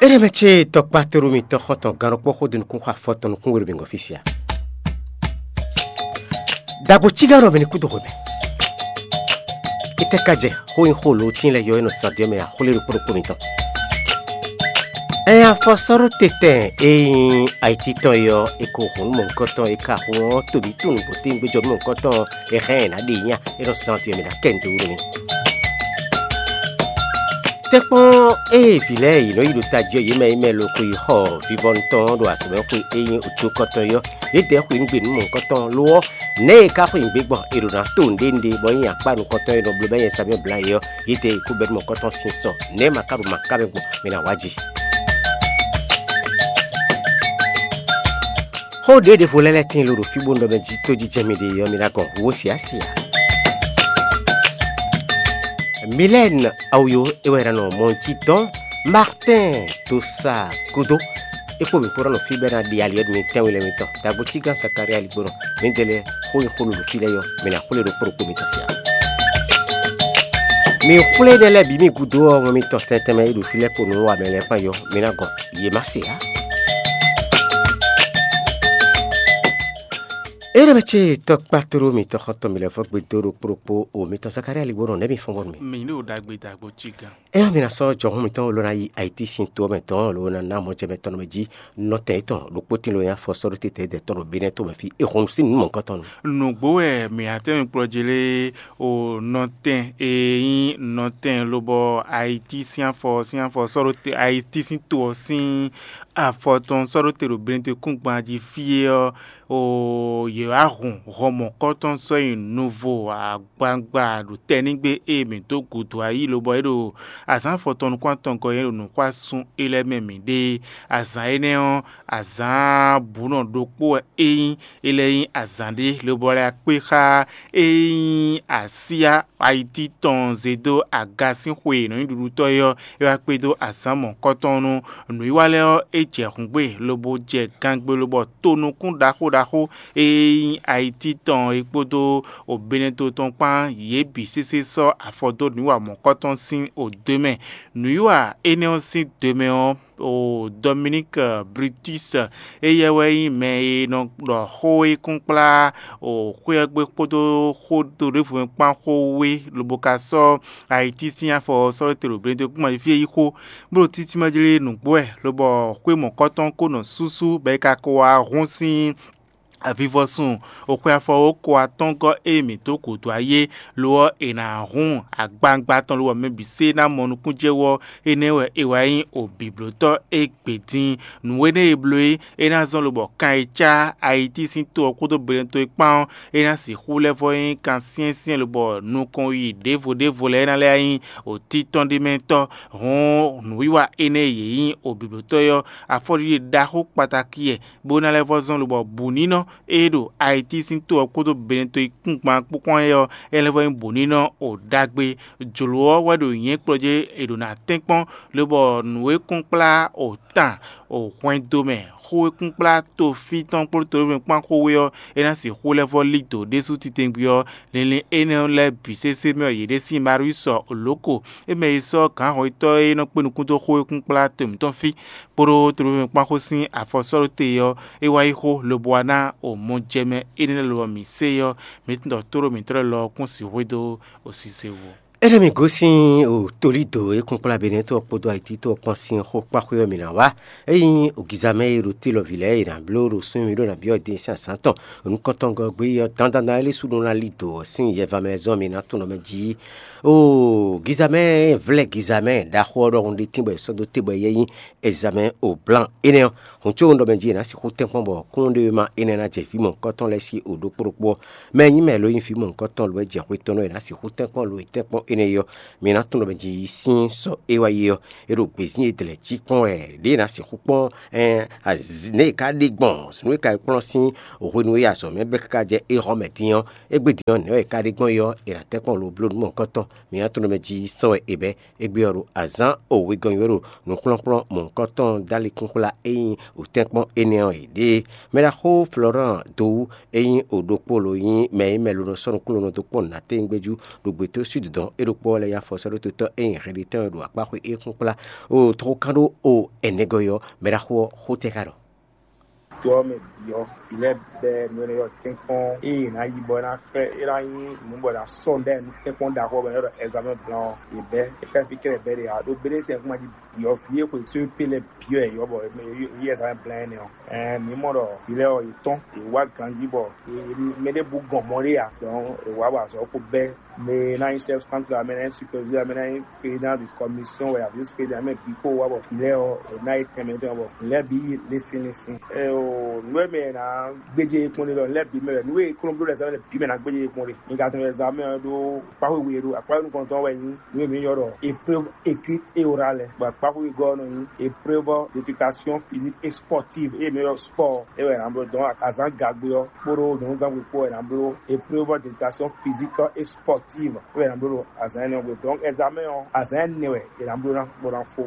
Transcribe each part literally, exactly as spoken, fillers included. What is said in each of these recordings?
Éɖɛmɛ ce tɔkpá tlóló mitɔn xɔ́ntɔn gán ɖokpó xó dó nukún xó afɔtɔn nukún we ɖo bǐngɔ́ fí sia. Ɖagbo cígán ɖɔ mɛ ní kú dó xwemɛ. Étɛ́ ka jɛ xó nyi xó lǒtín lɛ́ɛ yɔ é nɔ zán dó mɛ axwlé ɖokpó ɖokpó mitɔn. Ɛn afɔ sɔ́ ɖó te tɛn e nyí ayiti tɔn é ɔ́, è ko hǔn nú mɔ̌hunkɔtɔn e ka hun ɔ́, tobi tunwun bó tɛ́ nǔgbéjɔ nú mɔ̌hunkɔtɔn e hɛn ɛ ná ɖe nya é nɔ zán dó mɛ ná kɛ nǔ dó wú nú mì. Tɛ́nkpɔ́n ée vǐ lɛ́ɛ yě nɔ yi ɖo tají ɔ́, yě mɛ e mɛ lo xwe yi xɔ vivɔnu tɔn ɔ́ ɖo azɔ̌mɛxwe e nyí otókɔtɔn é ɔ́, yědɛɛ xwe nú gbe nú mɔ̌hunkɔtɔn lo ɔ́, nɛ̌ e ka xwe nǔgbé gbɔn è ɖo ná to nǔɖé nǔɖé bɔ nyí akpá nukɔntɔn e nɔ bló bɔ nyí Samuɛ́li blǎ é ɔ́, yědɛɛ yi kú bɛ́ nú mɔ̌hunkɔtɔn sín sɔ. Nɛ̌ ma ka ɖo ma ká mɛ gbɔn? Mi ná wá jǐ. Xó ɖě ɖěvo lɛ́ɛ lɛ́ tíin lo ɖo fí bó nɔ mɛ jí tójíjɛ mi ɖe ɔ́, mi ná gɔn hǔ ó siási ǎ. Milɛ́ɛn Awuyo é wɛ è nɔ mɔ jí dɔn. Martɛ́n Dosa gúdo é kpó mǐ kpó ná nɔ fí bɔ é ná ɖi ali ɔ́ nú mi tɛ́nwe lɛ́ɛ mitɔn. Dagbo cígán Sakalía Ligbónɔ, mǐdɛɛ lɛ́ɛ xó nyi xó lolo fí lɛ́ɛ ɔ́, mǐ ná xwlé ɖokpó ɖokpó mitɔn sia. Mi xwlé énɛ́ lɛ́ɛ bǐ mi gúdo ɔ́, wɛn mitɔn tɛntɛn mɛ e ɖo fí lɛ́ɛ kpo nǔ wa mɛ lɛ́ɛ kpán yɔ, mi ná gɔn, yě má se ǎ. Éɖɛmɛ ce tɔkpá tlóló mitɔn xɔ́ntɔn mi lɛ́ɛ vɔ́ gbe dó ɖokpó ɖokpó o mitɔn Zakalía Ligbónɔ nɛ̌ mi fɔ́n bɔnu mi? Mi ɖo ɖagbe dagbo cígán. Éyɛ́ mi ná sɔ́ jɔhɔn mǐtɔn ló ná yi ayiti sín to ɔ́ mɛ tɔn ló ná ná mɔjɛmɛ tɔn mɛ jí nɔtɛn yětɔn ɖokpó tín ló nyí afɔ sɔ́ ɖó tete dɛ̌ tɔn ɖo Benɛ́ to mɛ fí è hun sin nǔ mɔ̌hunkɔtɔn nu. Nǔgbó wɛ mǐ ná tɛ́nmɛ kplɔ́ jí lé o nɔtɛn e nyí nɔtɛn lobɔ ayiti sín afɔ sín afɔ sɔ́ ɖó te ayiti sín to ɔ́ sín afɔ tɔn sɔ́ ɖó te ɖo Benɛ́ to kúngban jí fí é ɔ́, o yě wá hun hɔn mɔ̌kɔ́tɔn sɔ́ nyi nuvo agbawungba ɖo tɛnígbe e mǐ dó gǔdo ayí lobɔ é ɖo azǎn afɔtɔn nukún atɔngɔ́ é ɖo nǔxwásun é lɛ́ɛ mɛ mǐ ɖe. Azǎn énɛ́ ɔ́, azǎn bǔnɔ ɖokpó wɛ é nyí; é lɛ́ nyí azǎn ɖé lobɔ lɛ́ akpé xá é nyí asyá ayiti tɔn zé dó aga sín xwe e nɔ nyí ɖuɖutɔ́ é ɔ́, é wá kpé dó azǎn mɔ̌kɔ́tɔn nu. Nǔwiwa lɛ́ɛ ɔ́, é jɛ hǔngbe lobo jɛ gangbe lobɔ tonukún ɖaxó ɖaxó e nyí ayiti tɔn é kpódó Obeneto tɔn kpán yě bǐ sésé sɔ́ afɔ dó nǔwiwa mɔ̌kɔ́tɔn sín odǒ mɛ. Nǔwiwa énɛ́ ɔ́ sín dǒ mɛ ɔ́, o Dominík Brutus, éyɛ́ wɛ nyí mɛ e nɔ ɖɔ xó e kún kplá o xwé ɔ́ gbe kpódó xó to ɖěvo mɛ kpán xó wé lobo ka sɔ́ ayiti sín afɔ ɔ́ sɔ́ ɖó te ɖo Benɛ́ to kúngban jí fí e yí xó, bó ɖo títí mɛ jlé nǔgbó wɛ, lobɔ xwé mɔ̌kɔ́tɔn ko nɔ súsú bɔ é ka ko wá hún sín avivɔsun oxwe afɔ ko atɔ́ngɔ́ e mǐ dó gǔdo ayé, lo ɔ́, è nǎ hun agbawungba tɔn lobɔ mɛ bǐ sé ná mɔ nukúnjɛwú ɔ́. Énɛ́ wɛ è wá nyí obǐblótɔ́ égbé dín. Nǔ énɛ́ e bló é, é ná zɔ́n lobɔ kan e cá ayiti sín to ɔ́ kpódó Benɛ́ to é kpán ɔ́, é ná sixú lɛ́ vɔ́ nyí kan syɛ́nsyɛ́n lobɔ nukɔn yi ɖěvo ɖěvo lɛ́ɛ ná lɛ́ nyí òtítɔ́ ɖé mɛ tɔ́. Hɔn nǔwiwa énɛ́ e yě nyí obǐblótɔ́ é ɔ́, afɔɖiɖe ɖaxó kpatakí wɛ, bó ná lɛ́ vɔ́ zɔ́n lobɔ bǔnínɔ e ɖo ayiti sín to ɔ́ kpódó Benɛ́ to e kúngban kpókpɔ́n é ɔ́, é lɛ́ vɔ́ nyí bǔnínɔ o ɖagbe. Jlǒ ɔ́ wɛ ɖo nyɛ̌kplɔ́ jí è ɖǒ ná tɛ́nkpɔ́n, lobɔ nǔ e kún kplá o tan o hwɛndo mɛ xó e kún kplá tofí tɔn kpódó toɖévɔ́ kpán xó wé ɔ́, é ná sixú lɛ́ vɔ́ lí dǒ ɖésú titewungbe ɔ́. Linlin énɛ́ lɛ́ɛ bǐ sésé mɛ ɔ́, yě ɖe sín Mariusɔ Oloko, é mɛ e sɔ́ gǎnhɔnyitɔ́ e nɔ kpé nukún dó xó e kún kplá to mǐtɔn fí kpódó toɖévɔ́ kpán xó sín afɔ sɔ́ ɖó te ɔ́, é wá yí xó lobo wá ná o mɔjɛmɛ énɛ́ lɛ́ɛ lobɔ mǐ se ɔ́, mǐ tunwun ɖɔ tóɖó mǐtɔn lɛ́ɛ lɔ ɔ́ kún sixú dó o sise vo. Énɛ́ mi gosín o Tolído e kún kplá Benɛ́to ɔ́ kpódó Ayiti to ɔ́ kpán sín xó kpáxwé ɔ́ mi ná wá. Ényí ogizamɛ e ɖo te lɔvǐ lɛ́ɛ e nǎ bló ɖo súnnu mì ɖó nǎ byɔ́ din sín azǎn tɔn nukɔntɔngɔ́ gbé ɔ́, dandan ná é lɛ́ sú ɖó ná lí dǒ ɔ́ sín yɛva mɛ zɔ́n mi ná tunwun ɖɔ mɛ jí. Oo, gizamɛ vlɛ́ gizamɛ ɖaxó ɔ́ ɖɔhun ɖé tín bɔ è sɔ́ dó te bɔ é nyí ezamɛ o blan énɛ́ ɔ́, hǔn có un ɖɔ mɛ jí è nǎ sixú tɛ́nkpɔ́n bɔ kúnnuɖewéma énɛ́ ná jɛ vǐ mɔ̌hunkɔtɔn lɛ́ɛ sí o ɖokpó ɖokpó ɔ́. Mɛ e nyí mɛ lo nyí vǐ mɔ̌hunkɔtɔn lo wɛ jɛ xwe tɔn nɔ è nǎ sixú tɛ́nkpɔ́n lo e tɛ́nkpɔ́n énɛ́ é ɔ́, mi ná tunwun ɖɔ mɛ jí sín sɔ é wá yi ɔ́, é ɖo gbězín e dlɛ̌ jí kpɔ́n wɛ ɖě è nǎ sixú kpɔ́n nɛ̌ è ka ɖe gbɔn nǔ e ka yi kplɔ́n sín hwenu e azɔ̌ mɛ bɛ́ káká jɛ éhɔ́ mɛ dín ɔ́, égbé din ɔ́, nɛ̌ wɛ è ka ɖe gbɔn é ɔ́, è nǎ tɛ́nkpɔ́n lo bló nú mɔ̌hunkɔtɔn. Mi ná tunwun ɖɔ mɛ jí sɔ wɛ è bɛ́. Égbé ɔ́ ɖo azǎn o wegɔ́n nyi wɛ ɖo nǔkplɔ́nkplɔ́n mɔ̌hunkɔtɔn dó ali kúnkplá e nyí wǔtɛ́nkpɔ́n énɛ́ ɔ́ è ɖe. Mɛɖaxó Florent Dowú e nyí o ɖokpó lo nyí mɛ e mɛ lo nɔ sɔ́ nukúnnú lo nɔ dó kpɔ́n nǔ ná téwúngbéjú ɖo gbětósúdudɔn é ɖokpó ɔ́ lɛ́ nyi afɔ sɔ́ ɖó totɔ́ e nyi hɛɖetɛ́ wɛ ɖo akpá xwé é kpɔ́n kplá. O toxo kan ɖó o ɛnɛgɔ́ ɔ́, mɛ ɖaxó ɔ́ xó tɛ́ ka ɖɔ. To ɔ́ mɛ bǐ ɔ́, vǐ lɛ́ɛ bɛ́ nǔ énɛ́ ɔ́ tɛ́nkpɔ́n ée è nǎ yi bɔ é ná xlɛ́ é ná nyí nǔ bɔ è nǎ sɔ́ nǔ ɖɛ nú tɛ́nkpɔ́n ɖaxó ɔ́ mɛ ɔ́ ɖɔ ɛzamɛ́n blan ɔ́, yě bɛ́ é xlɛ́ fí kɛ́ɖɛ́ bɛ́ ɖe ǎ. Ɖó béɖésɛ kún ma jí bǐ ɔ́, vǐ e xwe sóépé lɛ́ɛ bǐ ɔ́ yě yɔ bɔ yě yí ɛzamɛ́n blan énɛ́ ɔ́. Ɛɛ mǐ mɔ ɖɔ vǐ lɛ́ɛ ɔ́, yě tɔ́n, yě wá ganjí bɔ mɛ ɖěbǔ gɔn mɔ ɖé ǎ. Dɔn è wǎ wa azɔ̌ kpó bɛ́ mɛ e ná nyí chef centre ɔ́, mɛ e ná nyí superviseur, mɛ e ná nyí président de commission wɛ, vice président, mɛ bǐ kpó wá bɔ vǐ lɛ́ɛ ɔ́, è nǎ yi tɛnmɛ tɔn bɔ vǐ lɛ́ɛ bǐ yi lɛ́sín lɛ́sín. Eo nǔ e mɛ è nǎ gbéjé yě kpɔ́n ɖe lɔ, lɛ́ɛ bǐ mɛ wɛ nǔ e kplɔ́n bló lɛ́ zán lɛ bǐ mɛ ná gbéjé yě kpɔ́n ɖe. Mi ka tunwun lɛ́ zán mɛ ɔ́ ɖó kpáxwé we ɖó akpá nukɔn tɔn wɛ nyí nǔ e mǐ ylɔ́ ɖɔ épreuve écrite et orale. Bɔ kpáxwé gɔ́ ɔ́ nɔ nyí épreuve d'éducation physique et sportive, eye mǐ ylɔ́ sport é wɛ è nǎ bló dɔn azǎn gagbe ɔ́ kpódó nyɔ̌nuzángbe kpó wɛ è nǎ bló épreuve d'éducation physique et sportive é wɛ è nǎ bló ɖo azǎn énɛ́ ɔ́ gbe. Donc examen ɔ́, azǎn ɛnɛ wɛ è nǎ bló ná bó ná fó.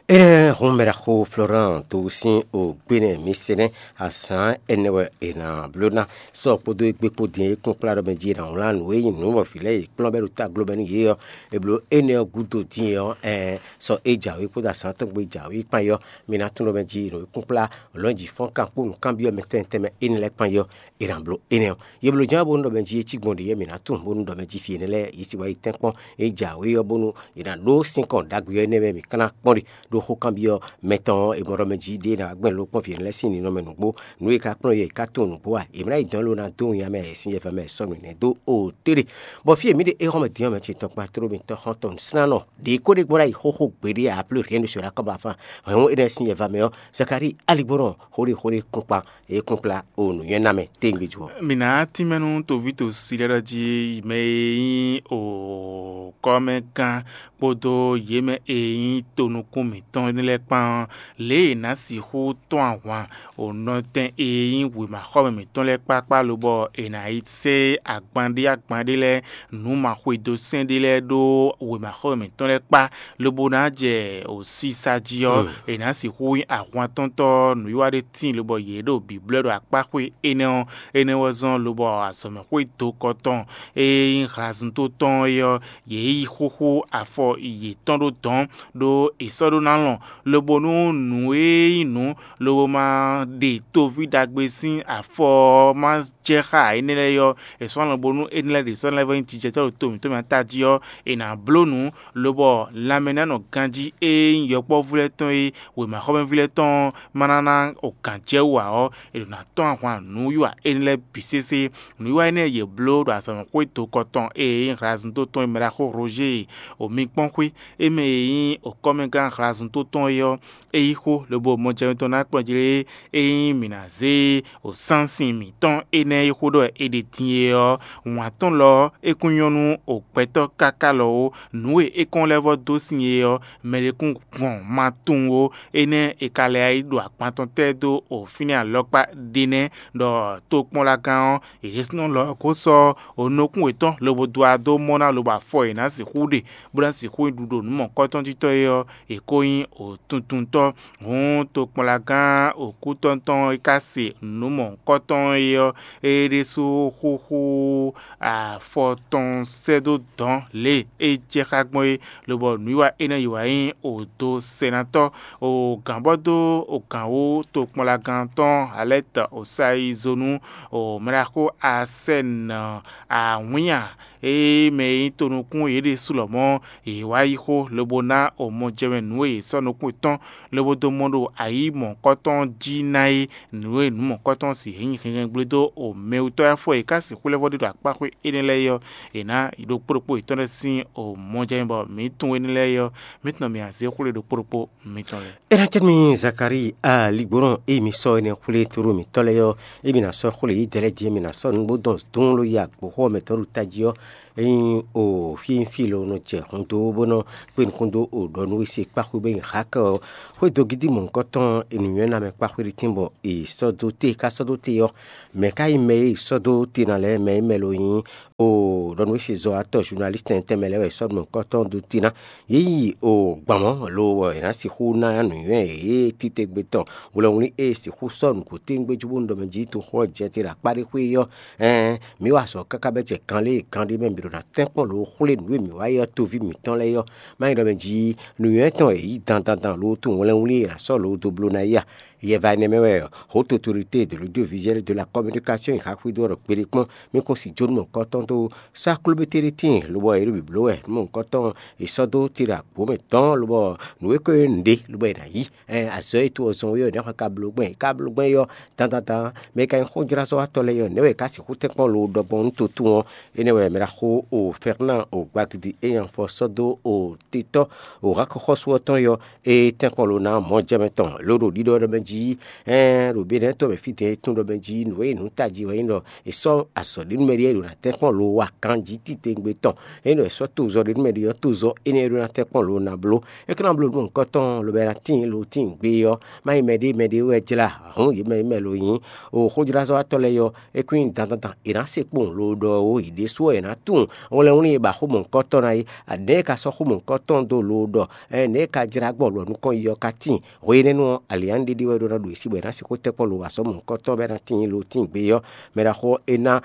Énɛ́ hɔn mɛ ɖaxó Florent to sín ògbénɛ mi se nɛ́ azǎn ɛnɛ wɛ è nǎ bló ná. Sɔ kpódó égbé kpó din e kún kplá ɖɔ mɛ jí è nǎ wlán nǔ e nyí nǔ wɔ̌ vǐ lɛ́ɛ e kplɔ́n bɛ́ ɖo táglo mɛ nú yě ɔ́, è blǒ énɛ́ ɔ́ gúdo din é ɔ́, ɛɛ sɔ é jǎwe kpódó azǎn tɔn gbe jǎwe kpán é ɔ́, mi ná tunwun ɖɔ mɛ jí nǔ e kún kplá lɔ̌n jǐ fɔ́n kan kpó nǔkanbyɔ́ mɛ tɛnmɛ tɛnmɛ énɛ́ lɛ́ɛ kpán é ɔ́, è nǎ bló énɛ́ ɔ́. Yě blǒ ján bó nú ɖɔ mɛ jí é cí gbɔn ɖě yɛ́ mǐ ná tunwun bónú ɖɔ mɛ jí fí énɛ́ lɛ́ɛ yě sì wá yi tɛ́nkpɔ́n é jǎwe ɔ́, bónú è nǎ ɖó sínkɔn ɖagbe ɔ́ énɛ́ mɛ mǐ ka ná kpɔ́n ɖe ɖó xó kanbyɔ́ mɛtɔn ɔ́, è mɔ ɖɔ mɛ jí ɖě ná gbɛn ló kpɔ́n vǐ énɛ́ lɛ́ɛ sín ninɔmɛ nǔgbó. Nǔ e ka kplɔ́n yɛ è ká tunwun nǔgbó a? È mlá yi dɔn ló ná dó winnyá mɛ sin yɛfɛ mɛ sɔ́ nǔ nɛ́ dó o tere. Bɔ fí e mǐ ɖe éhɔ́mɛ din ɔ́ mɛ ce tɔkpa tló mitɔn xɔ́ntɔn nǔslánnɔ ɖě kó ɖé gbɔn ɖ'ayǐ xóxó gbeɖé ǎ, plé rien ne sera kɔ́ ba fán. Hwɛ̌nnu énɛ́ sín yɛfɛ mɛ ɔ́, Zakalíi aligbɔnɔ xóɖéxóɖé kúnkpan e kún kplá o nǔnywɛ́ ná mɛ téngbe jí ɔ́. Mǐ ná tínmɛ nú toví tosi lɛ́ɛ ɖɔ jí mɛ e nyí o kɔ́mɛgán kpódó yě mɛ e nyí tonukún mǐtɔn lɛ́ɛ kpán ɔ́, lě e è nǎ sixú tɔ́n ahwan o nɔtɛn e nyí wěmaxɔmɛ mǐtɔn lɛ́ɛ kpákpá lobɔ è nǎ yi sɛ́ agban ɖé agban ɖé lɛ́ɛ nǔ maxwedó sɛn ɖé lɛ́ɛ ɖó wěmaxɔmɛ mǐtɔn lɛ́ɛ kpá, lobo ná jɛ o sisa jí ɔ́, è nǎ sixú nyí ahwantɔ́ntɔ́ nǔwiwa ɖé tíin lobɔ yě ɖo bǐblɔ́ ɖo akpáxwé énɛ́ ɔ́. Énɛ́ wɛ zɔ́n lobɔ azɔ̌mɛxwé dokɔ tɔn e nyí hlazuntó tɔn é ɔ́, yě yi xúxú afɔ yětɔn ɖó dɔ̌n, ɖó è sɔ́ ɖó ná lɔn, lobo nú nǔ e nyí nǔ lobo ma ɖe toví ɖagbe sín afɔ ɔ́ ma jɛ xá énɛ́ lɛ́ɛ ɔ́, è sɔ́ lɔn bónú énɛ́ lɛ́ɛ ɖě sɔ́ lɛ́ vɛ́ nyí jijɛtɔ́ ɖo to mǐtɔn mɛ ta jí ɔ́, è nǎ bló nǔ, lobɔ lanmɛnánɔ ganjí e nyí yɔkpɔ́vú lɛ́ɛ tɔn e wěmaxɔmɛví lɛ́ɛ tɔn ɔ́ ma ná ná o gǎn jɛ wú ǎ ɔ́, è ɖǒ ná tɔ́n ahwan nǔwiwa énɛ́ lɛ́ɛ bǐ sésé. Nǔwiwa énɛ́ e yě bló ɖo azɔ̌mɛxwé dokɔ tɔn e nyí hlazuntó tɔn e mɛ ɖaxó Roger o mi kpɔ́n xwé, é mɛ e nyí okɔ́mɛgán hlazuntó tɔn é ɔ́, é yí xó lobo mɔjɛmɛ tɔn ná kplɔ́n jlé é nyí mǐ ná zé wǒsánsin mǐtɔn énɛ́ e xó ɖɔ è ɖe din é ɔ́, wǎn tɔn lɔ ɔ́, é kún nyɔ́ nú gbɛtɔ́ káká lɔ ó. Nǔ e é kɔn lɛ́ vɔ́ dó sin é ɔ́, mɛ ɖé kún gbɔn ma tunwun ó. Énɛ́ è ka lɛ́ yi ɖo agban tɔn tɛ́ dó fínɛ́ alɔkpa ɖé nɛ́, ɖɔ tokpɔ́nlagán ɔ́, è ɖésúnɔ lɔ ɔ́ ko sɔ́ nukún yětɔn lobo dó wá dó mɔ ná lobo afɔ è nǎ sixú ɖe, bó ná sixú nyi ɖuɖo nǔ mɔ̌hunkɔtɔn jí tɔn é ɔ́, è ko nyí wǒtuntuntɔ́. Hǔn tokpɔnlagán wǒkútɔ́ntɔn e ka se nǔ mɔ̌hunkɔtɔn é ɔ́, é ɖésú xúxú afɔ tɔn sɛ́ dó dɔ̌n lě e é jɛ xá gbɔn é, lobɔ nǔwiwa énɛ́ yi wǎ nyí odo sɛnatɔ́. Ogǎnbɔ́ dó ogǎnwú tokpɔnlagán tɔn Alɛ́tɛ Osayizonu, o mɛɖaxó Asɛ́nɔ awǐnnya e mɛ e nyí tonukún yě ɖésú lɔmɔ̌, yě wá yí xó lobo ná o mɔjɛmɛ nǔ e yě sɔ́ nukún yětɔn lobo dó mɔ ɖo ayǐ mɔ̌hunkɔtɔn jí ná é. Nǔ e nǔ mɔ̌hunkɔtɔn sixú nyí hɛnhɛngblé dó o mɛwutɔ́ e afɔ yě ka sixú lɛ́ vɔ́ ɖe ɖo akpáxwé énɛ́ lɛ́ɛ é ɔ́, è nǎ ɖokpó ɖokpó yětɔn lɛ́ɛ sín o mɔjɛmɛ bɔ mǐ tunwun énɛ́ lɛ́ɛ é ɔ́, mǐ tunwun mǐ ná zé xwlé ɖokpó ɖokpó mitɔn lɛ́ɛ. É ná cɛ́ nú mì Zakalíi aligbɔnɔ e mi sɔ́ énɛ́ xwlé tlóló mǐtɔn lɛ́ɛ ɔ́, emi ná sɔ́ xwlé yědɛɛ lɛ́ɛ din, emi ná sɔ́ nǔgbó dɔn dún ló yi agbǒxɔ mɛ tɔn ɖo tají ɔ́, ényí o fí fí lo nɔ jɛ hun dó bó nɔ kpé nukún dó o ɖɔ nú we se kpáxwé bó Hakɛ ɔ́, xwédogídí mɔ̌hunkɔtɔn e nǔnywɛ́ ná mɛ kpá xwéɖítín bɔ è sɔ́ dó te, ká sɔ́ dó te ɔ́, mɛ̌ ka nyí mɛ e è sɔ́ dó te ná lɛ́ɛ? Mɛ e mɛ lo nyí o ɖɔ nú é se zɔ́watɔ́ zunalísitɛn tɛnmɛ lɛ́ɛ wɛ è sɔ́ mɔ̌hunkɔtɔn dó te ná. Yě yi o gbǎn mɔ̌ lo wɛ è nǎ sixú ná nǔnywɛ́ e titewungbe tɔn hwlɛngwlín e è sixú sɔ́ nǔgbó tɛ́ngbé jó bónú ɖɔ mɛ jí toxo ɔ́ jɛ te ɖo akpá ɖé xwé ɔ́, ɛɛn mǐ wa azɔ̌ káká bɛ́ jɛ kan lé e kan ɖé mɛ mǐ ɖo ná tɛ́nkpɔ́n lǒ xwlé nǔ e mǐ wa é ɔ́ toví mǐtɔn lɛ́ɛ ɔ́. Má nyí ɖɔ mɛ jí nǔnywɛ́ tɔn e yě yi dandandan lo tunwun hwlɛngwlín e è nǎ sɔ́ lǒ dó bló ná é a? Yɛ va énɛ́ mɛ wɛ ɔ́, Haute Autorité de l'Audiovisuel et de la Communication yi xaxwé dó ɔ́ ɖɔ kpeɖé kpɔ́n, mì kún si jó nú mɔ̌hunkɔtɔn dó sá klóbété ɖé tíin, lobɔ yě ɖo bǐbló wɛ nú mɔ̌hunkɔtɔn è sɔ́ dó te ɖo agbǒ mɛ dɔ̌n, lobɔ nǔ e ko nyí nǔɖé, lobɔ è nǎ yí. Ɛn azɔ̌ e to ɔ́ zɔn é ɔ́, è nǎ xɔ ka bló gbɛn, è ka bló gbɛn é ɔ́, dandandan mɛ e ka nyí xójlázɔ́watɔ́ lɛ́ɛ é ɔ́, nɛ̌ wɛ è ka sixú tɛ́nkpɔ́n lo ɖɔgbɔn nú to tún ɔ́? Énɛ́ wɛ mɛ ɖaxó o Fɛrnan o Gbagidi e nyi afɔ sɔ́ dó o titɔ́ o Hakɔxɔ́sú ɔ́ tɔn é ɔ́, é tɛ́nkpɔ́n lo ná mɔ̌ jɛ mɛ tɔn lǒ ɖo ɖiɖɔ ɖɔ mɛ jí, ɛɛn ɖo Benɛ́ɛ tɔn mɛ fí dɛ̌n e tún ɖɔ mɛ jí nǔ e nǔ tají wɛ nyí ɖɔ è sɔ́ azɔ̌ ɖé nú mɛɖée ɖo ná tɛ́nkpɔ́n lo wa kanjí titewungbe tɔn. Ényí ɖɔ è sɔ́ tozɔ́ ɖé nú mɛɖée ɔ́, tozɔ́ énɛ́ e ɖó ná tɛ́nkpɔ́n lo ná bló. É ka ná bló nú mɔ̌hunkɔtɔn lobo ná tíin lo tíin gbé ɔ́, má nyí mɛɖée mɛɖée wɛ jlá hǔn yě mɛ yě mɛ lo nyí o xójlázɔ́watɔ́ lɛ́ɛ ɔ́, é kún nyí dandandan è nǎ se kpowun lo ɖɔ ó, yě ɖésú ɔ́ è nǎ tunwun hwlɛngwlín e ba xó mɔ̌hunkɔtɔn ná é. Nɛ̌ è ka sɔ́ xó mɔ̌hunkɔtɔn dó lo ɖɔ, nɛ̌ è ka jlá gbɔn lɔ nukɔn yi ɔ́ ka tíin? Hwe énɛ́ nu ɔ́, alǐanɖéɖé wɛ ɖó ná ɖo yě sí bɔ è nǎ sixú tɛ́nkpɔ́n lo wa sɔ́ mɔ̌hunkɔtɔn bɔ é ná tíin lo tíin gbé ɔ́. Mɛ ɖaxó é ná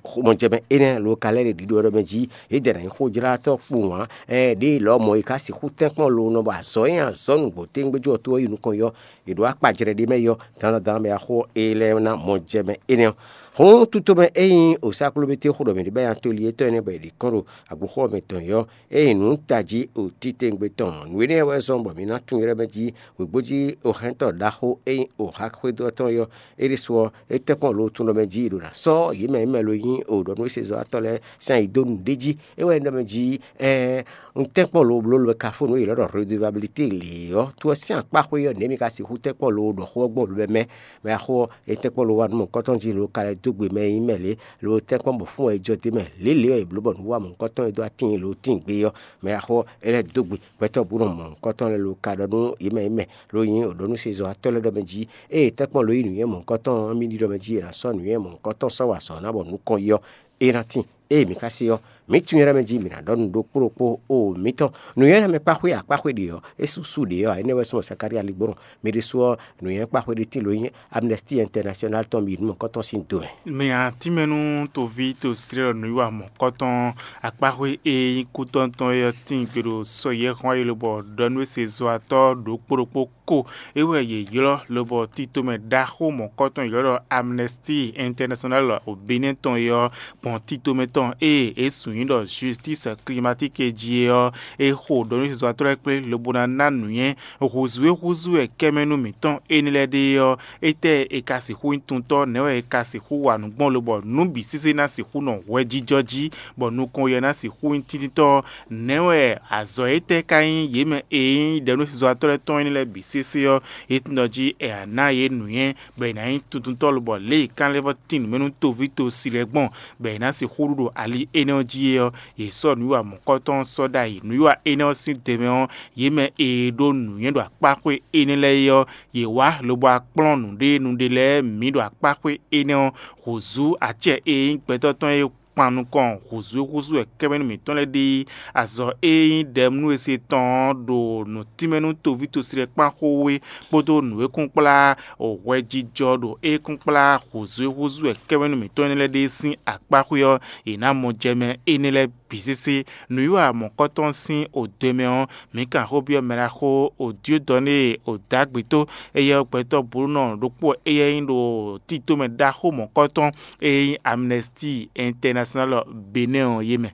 xomɔjɛmɛ énɛ́ lo ka lɛ́ ɖe ɖiɖɔ ɖɔ mɛ jí yědɛɛ ná nyí xójlátɔ́ kpowun ǎ. Ɛɛn ɖěe lɔmɔ̌ è ka sixú tɛ́nkpɔ́n lo nɔ bɔ azɔ̌ e nyi azɔ̌ nǔgbó tégbéjó ɔ́ tó ɔ́ yi nukɔn yi ɔ́, è ɖǒ akpajlɛ́ ɖé mɛ yi ɔ́, dandan mɛ axó e lɛ́ ná mɔ jɛ mɛ énɛ́ ɔ́. Hǔn tutomɛ e nyí osáklóbété xó ɖɔ mǐ ɖi bɛ́ nya toli étɔn énɛ́ bɔ è ɖi kɔ́n ɖo agbǔxɔ mɛ tɔn yɔ́, ée nyí nǔ tají o títewungbe tɔn. Nǔ énɛ́ wɛ zɔ́n bɔ mǐ ná tunwun ylɔ́ mɛ jí wěgbójí ohɛntɔ́ ɖaxó e nyí oxaxwédó tɔn yɔ́. É ɖésú ɔ́, é tɛ́nkpɔ́n lo tunwun mɛ jí ɖo ná sɔ́ yě mɛ e mɛ lo nyí o ɖɔ nú é se zɔ́watɔ́ lɛ́ɛ sín ayi dó nǔɖé jí. É wɛ nyí ɖɔ mɛ jí ɛɛn un tɛ́nkpɔ́n lo bló lo ka fó nǔ e yě lɔ́ ɖɔ redevabilité lě ɔ́, to ɔ́ sín akpá xwé ɔ́, nɛ̌ mi ka sixú tɛ́nkpɔ́n lo ɖɔ xó ɔ́ gbɔn lo mɛ? Mɛ axó ɔ́, é tɛ́nkpɔ́n lo wá nú mɔ̌hunkɔtɔn jí lo ka lɛ́ dó gbe mɛ e nyí mɛ lě, lo tɛ́nkpɔ́n bɔ fún wɛ é jɔ d'é mɛ lě lě ɔ́, è blǒ bɔ nǔ wa mɔ̌hunkɔtɔn e dó atín lo tíin gbé ɔ́. Mɛ axó ɔ́, é lɛ́ dó gbe gbɛtɔ́ bú nɔ mɔ̌hunkɔtɔn lɛ́ɛ lo ka ɖɔ nú yě mɛ yě mɛ lo nyí o ɖɔ nú sezɔ́watɔ́ lɛ́ɛ ɖɔ mɛ jí, ée tɛ́nkpɔ́n lo yí nǔnywɛ́ mɔ̌hunkɔtɔn ɔ́, mì ɖi ɖɔ mɛ jí è nǎ sɔ́ nǔnywɛ́ mɔ̌hunkɔtɔn sɔ́ wa azɔ̌ ná bɔ nukɔn yi ɔ́, é ná tíin. Ée mǐ ka se ɔ́, mǐ tunwun ylɔ́ mɛ jí mǐ ná ɖɔ nǔ ɖokpó ɖokpó o mǐtɔn. Nǔnywɛ́ mɛ kpáxwé akpáxwé ɖě ɔ́, é sú sú ɖě ɔ́ ǎ, énɛ́ wɛ súnmɔ Sakalía ligbɔ́nɔ. Mi ɖésú ɔ́, nǔnywɛ́ kpáxwé ɖé tíin lo nyí Amnesty International tɔn mi nú mɔ̌kɔtɔn sín do mɛ. Mɛ atínmɛnú toví to slɛ́ nǔwiwa mɔ̌kɔtɔn akpáxwé e nyí kútɔ́ntɔn é ɔ́ tíin gbe ɖo sɔ yɛ́xɔ́n e lobɔ ɖɔ nú é se zɔatɔ́ ɖokpó ɖokpó ko. É wɛ yě ylɔ́ lobɔ tito mɛ ɖaxó mɔ̌kɔtɔn yě ylɔ́ ɖɔ Amnesty International o Benɛ́ tɔn é ɔ́ gbɔn tito mɛ tɔn ée é sún nyí ɖɔ Justice Climatique jí é ɔ́, é xo ɖɔ nú sezɔ́watɔ́ lɛ́ɛ kplé lobo ná ná nǔnywɛ́ hǔzú e húzú wɛ kɛ́mɛnú mǐtɔn énɛ́ lɛ́ɛ ɖe é ɔ́, étɛ́ è ka sixú nyí tuntɔ́? Nɛ̌ wɛ è ka sixú wa nǔ gbɔn lobɔ nǔ bǐ sésé ná sixú nɔ hwɛjijɔ jí, bɔ nukɔn yɛ ná sixú nyí tíntítɔ́? Nɛ̌ wɛ azɔ̌ étɛ́ ka nyí yě mɛ e nyí ɖɛ̌núsezɔ́watɔ́ lɛ́ɛ tɔn énɛ́ lɛ́ɛ bǐ sésé ɔ́, é tunwun ɖɔ jí è nǎ yě nǔnywɛ́, bɔ è nǎ nyí tuntuntɔ́ lobɔ lě e kánlɛ́vɔ́ tín nǔ mɛ nú toví to si lɛ́ɛ gbɔn, bɔ è nǎ sixú ɖu ɖo ali énɛ́ ɔ́ jí é ɔ́, yě sɔ́ nǔwiwa mɔ̌kɔtɔn ɔ́ sɔ́ ɖ'ayǐ. Nǔwiwa énɛ́ ɔ́ sín dɛmɛ ɔ́, yě mɛ e ɖó nǔnywɛ́ ɖo akpáxwé énɛ́ lɛ́ɛ é ɔ́, yě wá lobo wá kplɔ́n nǔɖé nǔɖé lɛ́ɛ mǐ ɖo akpáxwé énɛ́ ɔ́. Hǔzú acɛ e nyí gbɛtɔ́ tɔn e kpan nukɔn hǔzú e húzú wɛ kɛ́mɛnú mǐtɔn lɛ́ɛ ɖe azɔ̌ e nyí ɖɛ̌mnú e se tɔn ɔ́ ɖo nǔtínmɛ nú toví tosi lɛ́ɛ kpán xó wé kpódó nǔ e kún kplá hwɛjijɔ ɖo é kún kplá hǔzú e húzú wɛ kɛ́mɛnú mǐtɔn énɛ́ lɛ́ɛ ɖe sín akpáxwé ɔ́, è nǎ mɔ jɛ mɛ énɛ́ lɛ́ɛ bǐ sésé. Nǔwiwa mɔ̌kɔtɔn sín odwe mɛ ɔ́, mǐ kan xó byɔ́ mɛ ɖaxó Odiodɔnée Odagbito, éyɛ́ ɔ́ gbɛtɔ́ blónɔ ɖokpó éyɛ́ nyí ɖo tito mɛ ɖaxó mɔ̌kɔtɔn e nyí Amnesty International Benɛ́ ɔ́ yé mɛ.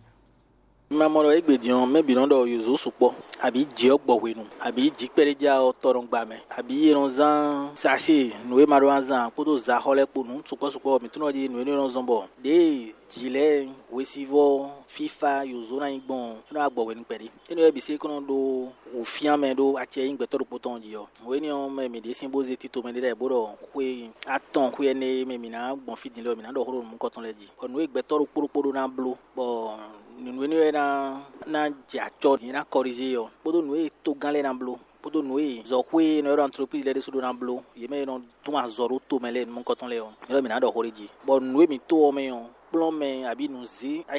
Ma mɔ ɖɔ égbé din ɔ́, mɛ bǐ nɔ ɖɔ yǒzo sukpɔ́, abǐ jǐ ɔ́ gbɔ hwenu, abǐ jǐ kpɛɖéjá ɔ́ tɔ nɔ gba mɛ, abǐ è nɔ zán sacée nǔ e ma ɖó ná zán ǎ kpódó zaxɔ́ lɛ́ɛ kpo nǔ sukpɔ́ sukpɔ́. Mǐ tunɔ jí nǔ énɛ́ nɔ zɔ́n bɔ ɖěe jǐ lɛ́ɛ, hwesivɔ́, fífá, yǒzo ná nyí gbɔn ɔ́, é nɔ wá gbɔ hwenu kpɛɖé. Énɛ́ wɛ bǐ se é kɔn nɔ ɖó wǔfyán mɛ ɖó acɛ e nyí gbɛtɔ́ ɖokpó tɔn jí ɔ́. Hwenu énɛ́ ɔ́, mɛ mǐ ɖésú bó zé tito mɛ ɖé lɛ́ɛ bó ɖɔ xwé atɔn xwé énɛ́ e mɛ mǐ ná gbɔn fí din lɛ́ɛ ɔ́, mǐ ná ɖɔ xó ɖo nǔ mɔ̌kɔtɔn lɛ́ɛ jí, bɔ nǔ e gbɛtɔ́ ɖokpó ɖokpó ɖó ná bló, bɔ nǔ énɛ́ wɛ ná ná jɛ acɔ, nyɛ ná kɔrizé ɔ́, kpódó nǔ e tógán lɛ́ɛ ná bló. kpódó nǔ e zɔxwé e nɔ ylɔ́ ɖɔ antlopízi lɛ́ɛ ɖésú ɖó ná bló, yě mɛ e nɔ tún azɔ̌ ɖó tomɛ lɛ́ɛ nukɔntɔn lɛ́ɛ ɔ́, é ɖɔ mǐ ná ɖɔ xó ɖé jí. Bɔ nǔ e mǐ to ɔ́ mɛ ɔ́, kplɔ́n mɛ abǐ nǔzé